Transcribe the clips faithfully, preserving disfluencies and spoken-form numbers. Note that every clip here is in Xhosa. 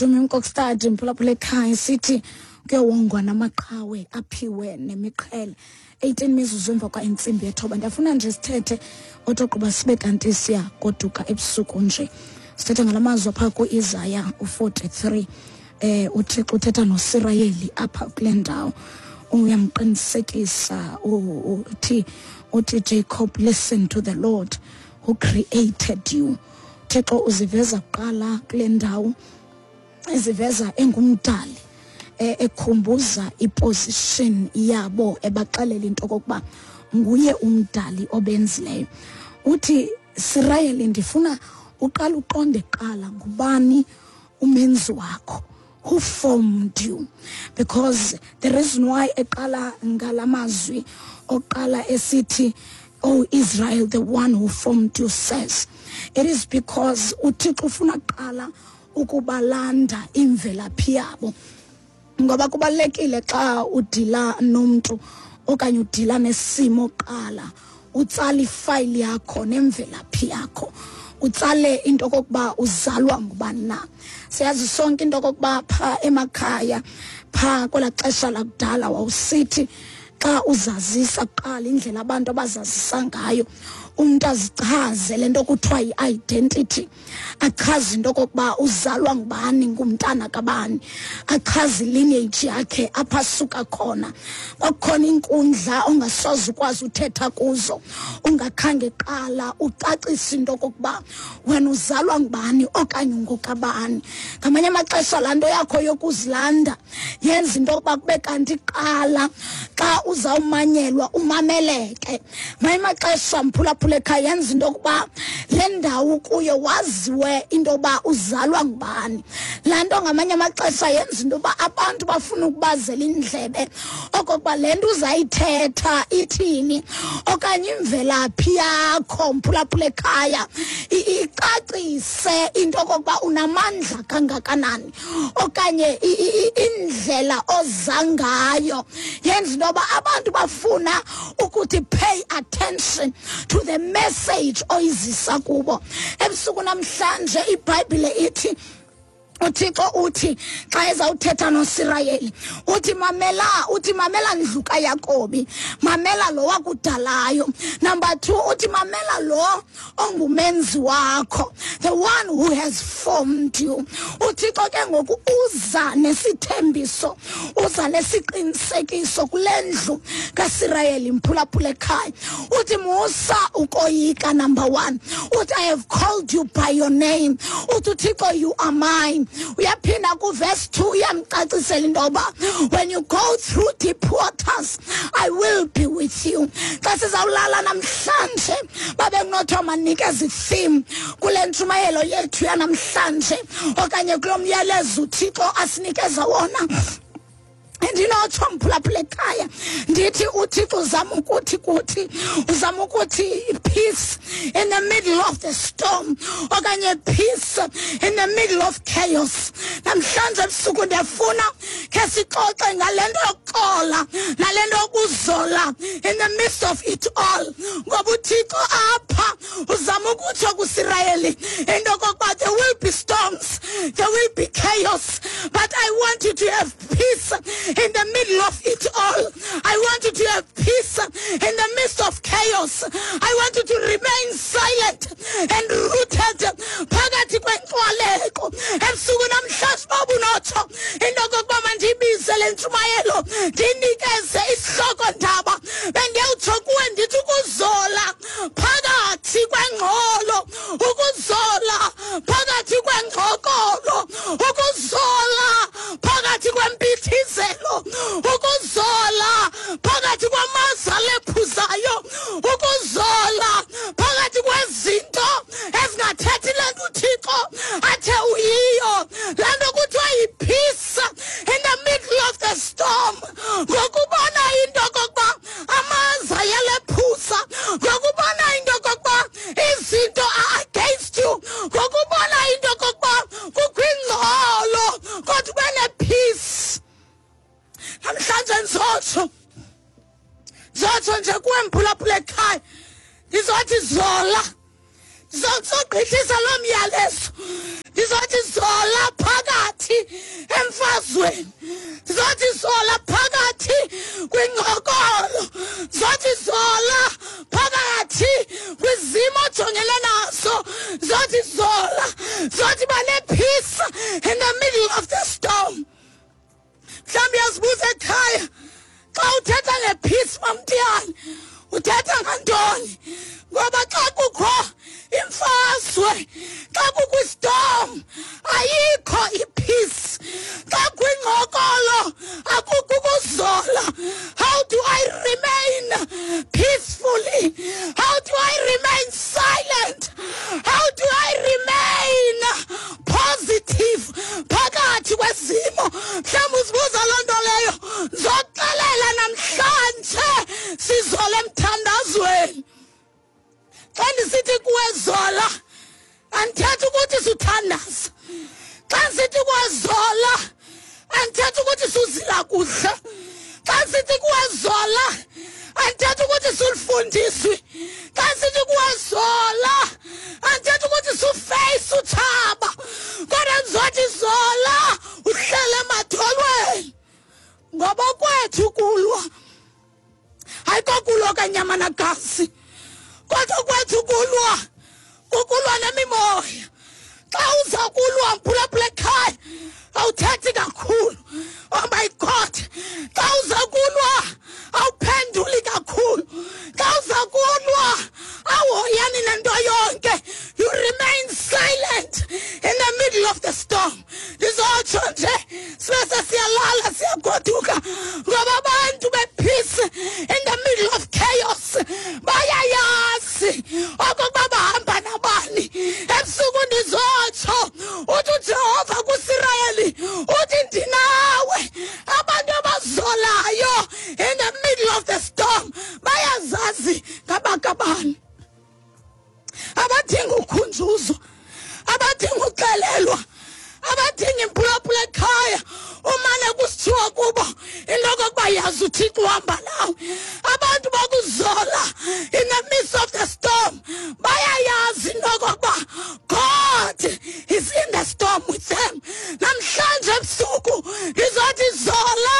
Dumi Mkokstad, mphulaphula ekhaya, sithi kuyowongwa namaqhawe aphiwe nemiqhele. eighteen mizuzu emva kwa intsimbi yethoba. Ndiyafuna nje sithethe otoqoba sibe kanti siyagoduka ebusuku nje. Sithethe ngalamazwi apha ku-Isaya u-forty-three. Eh uThixo uthetha noSirayeli apha kule ndawo. Uyamqinisekisa uthi uthi Jacob, listen to the Lord who created you. Thixo uziveza kuqala kule ndawo, eziveza engumdali, ekhumbuza iposition yabo, ebaxelela into okokuba nguye umdali obenzileyo. Uthi Sirayeli, ndifuna uqala uqonde kuqala ngubani umenzi wakho, who formed you, because the reason why eqala ngalamazwi oqala esithi, "Oh Israel, the one who formed you says," it is because uThixo ufuna kuqala ukubalanda imvelaphi yabo, ngoba kubalekile xa udila nomuntu okanye udila nesimo qala utsala ifile yakho nemvelaphi yakho, utsale into kokuba uzalwa ngubani na. Siyazi sonke into kokuba pha emakhaya pha kwela xesha lakudala wawusithi xa uzazisa kuqala indlela abantu abazazisa ngayo, umuntu azichaze lento kuthiwa yi-identity, achaze into kokuba uzalwa ngubani, ngumntana kabani, achaze lineage yakhe apha asuka khona. Kwakukhona inkundla ongasoze ukwazi uthetha kuzo ungakhange qala ucacise into kokuba wena uzalwa ngubani okanye ungokabani. Ngamanye amaxesha laa nto yakho yokuzilanda yenza into yokuba kube kanti qala xa uzawumanyelwa umameleke. Ngamanye amaxesha mphulaphula ekhaya yenza into yokuba le ndawo kuyo waziwe into yokuba uzalwa ngubani. Laa nto ngamanye amaxesha yenza into yokuba abantu bafuna ukubazela indlebe okokuba le nto uzayithetha ithini, okanye imvelaphi yakho mphulaphula ekhaya icacise into okokuba unamandla kangakanani, okanye indlela oza ngayo yenza into yoba abantu bafuna ukuthi pay attention to the message oyizisa kubo. Ebusuku namhlanje iBhayibhile ithi, uThixo uthi xa ezawuthetha noSirayeli uthi mamela, uthi mamela ndlu kaYakobi, mamela lo wakudalayo. Number two, uthi mamela lo ongumenzi wakho, the one who has formed you. uThixo ke ngoku uza nesithembiso, uza nesiqinisekiso kule ndlu kaSirayeli mphulaphula ekhaya. Uthi musa ukoyika, number one. Uthi I have called you by your name. Uthi uThixo, you are mine. Uyaphinda ku-verse two uyamcacisela into yoba when you go through deep waters, I will be with you. Xa sizawulala namhlanje babe kunothiwa manikeze i-theme kule ntshumayelo yethu yanamhlanje okanye kulo myalezo uThixo asinikeza wona, ndinotsho mphulaphula ekhaya ndithi uThixo uzama ukuthi kuthi uzama ukuthi peace in the middle of the storm okanye peace in the middle of chaos. Namhlanje ebusuku ndiyafuna khe sixoxe ngale nto yokuxola nale nto yokuzola in the midst of it all, ngoba uThixo apha uzama ukutsho kuSirayeli into okokuba there will be storms, there will be chaos, but I want you to have peace in the middle of it all. I want you to have peace in the midst of chaos. I want you to remain silent and rooted phakathi kwenkxwaleko. Ebusuku namhlanje babunotsho into okokuba mandiyibize le ntshumayelo ndinikeze isihloko ndaba, bendiyawutsho kuwe ndithi ukuzola phakathi kwengxolo, ukuzola phakathi kwengxokolo, ukuzola phakathi kwempithizelo, ukuzola phakathi kwamaza alephuzayo, ukuzola phakathi kwezinto ezingathethi le nto uThixo athe uyiyo. Laa nto kuthiwa yi-peace in the middle of the storm. Ngokubona into okokuba amaza ayalephuza, ngokubona into okokuba izinto are against you, ngokubona into okokuba kukho ingxolo kodwa ube ne-peace. Namhlanje ndizotsho ndizotsho nje kuwe mphulaphula ekhaya, ndizothi zola, ndizogqithisa loo myalezo, ndizothi zola phakathi Emfazweni, ndizothi zola phakathi kwingxokolo, ndizothi zola phakathi kwizimo ojongele nazo, ndizothi zola, ndizothi ba ne-peace in the middle of the storm. Mhlawumbi uyazibuza ekhaya, xa uthetha nge-peace, Mamtiyane, uthetha ngantoni? Ngoba xa kukho imfazwe, xa kukho i-storm, ayikho i-peace. Xa kwingxokolo, akukho ukuzola. How do I remain peacefully? How do I remain silent? How do I remain positive phakathi kwezimo? Mhlawumbi uzibuza loo nto leyo. Ndizoxelela namhlanje, sizola emthandazweni. Xa ndisithi kuwe zola, andithethi ukuthi suthandaza. Xa ndisithi kuwe zola, andithethi ukuthi suzila kuhle. Xa ndisithi kuwe zola, andithethi ukuthi sulifundiswi. Xa ndisithi kuwe zola, andithethi ukuthi su-face utshaba, kodwa ndizothi zola uhlele emadolweni, ngoba kwethu kulwa ayikokulwa kanyama nagazi, kodwa kwethu kulwa kukulwa nemimoya. Xa uza kulwa, mphulaphula ekhaya, awuthethi kakhulu. Oh my God, xa uza kulwa awuphenduli kakhulu. Xa uza kulwa awuhoyani nento yonke. You remain silent in the middle of the storm. Ndizotsho nje, sibe sesiyalala, siyagoduka, ngoba abantu be-peace in the middle of chaos bayayazi okokuba bahamba nabani. Ebusuku ndizotsho, uthi uJehova kuSirayeli, uthi ndinawe. Abantu abazolayo in the middle of the storm bayazazi ngabakabani. Abadinga ukhunjuzwa, abadinga uxelelwa, abadinga imphulaphula ekhaya umane kusithiwa kubo into okokuba yazi uThixo uhamba nawe. Abantu bokuzola in the midst of the storm bayayazi into okokuba God is in the storm with them. Namhlanje ebusuku ngizothi zola,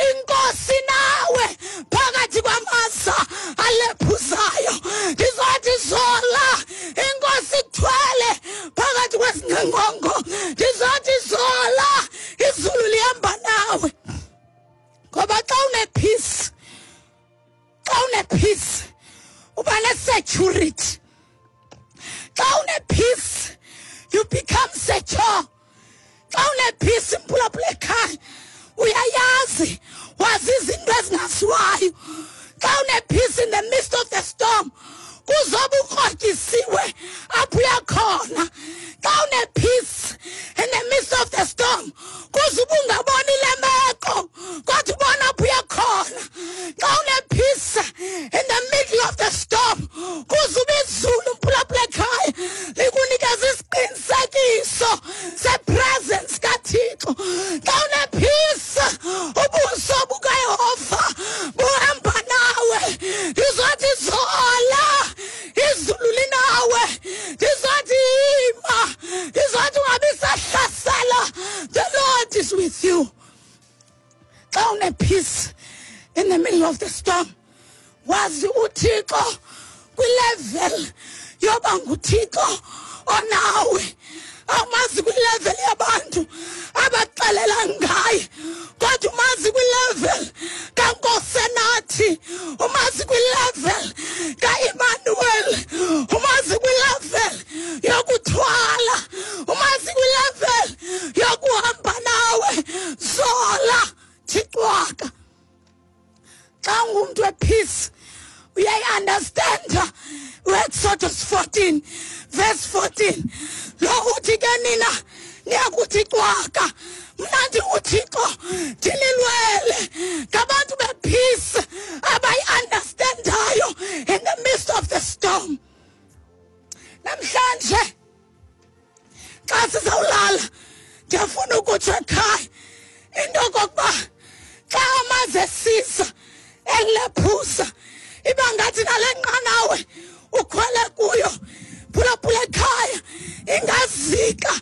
inkosi nawe phakathi kwamaza alephuzayo. Ngizothi zola, inkosi ikuthwele phakathi kwesingqongo. Ngizothi zola, izulu lihamba nawe. Ngoba xa une-peace, xa une-peace uba ne-security. Xa une-peace you become secure. Xa une-peace, mphulaphula ekhaya, uyayazi, wazi izinto ezingaziwayo. Xa une-peace in the midst of the storm, kuzobe ukrotyisiwe apho uyakhona. Xa une-peace in the midst of the storm, kuze ungaboni le meko, kodwa ubona apho uyakhona. Xa une-peace in the middle of the storm, kuze ube izulu, mphulaphula ekhaya, likunikeza isiqinisekiso se-presence kaThixo. Xa une-peace, ubuso bukaYehova buhamba nawe. Ndizothi zola, izulu linawe. Ndizothi ima, ndizothi ungabi sahlasela, the Lord is with you. Xa une-peace in the middle of the storm, wazi uThixo kwi-level yoba nguThixo onawe. Awumazi kwi-level yabantu abaxelela ngaye, kodwa umazi kwi-level kaNkosenathi, umazi kwi-level kaEmmanuel, umazi kwi-level yokuthwala, umazi kwi-level yokuhamba nawe. Zola, thixwaka. Xa ungumntu we-peace uyayi-understanda uExodus fourteen verse fourteen, lo uthi ke nina niyakuthi cwaka, mna ndinguThixo ndinilwele. Ngabantu be-peace abayi-understandayo in the midst of the storm. Namhlanje xa sizawulala, ndiyafuna ukutsho ekhaya into okokuba xa amazi esiza ekulephuza, iba ngathi nale nqanawe ukhwele kuyo, phulaphula ekhaya, ingazika.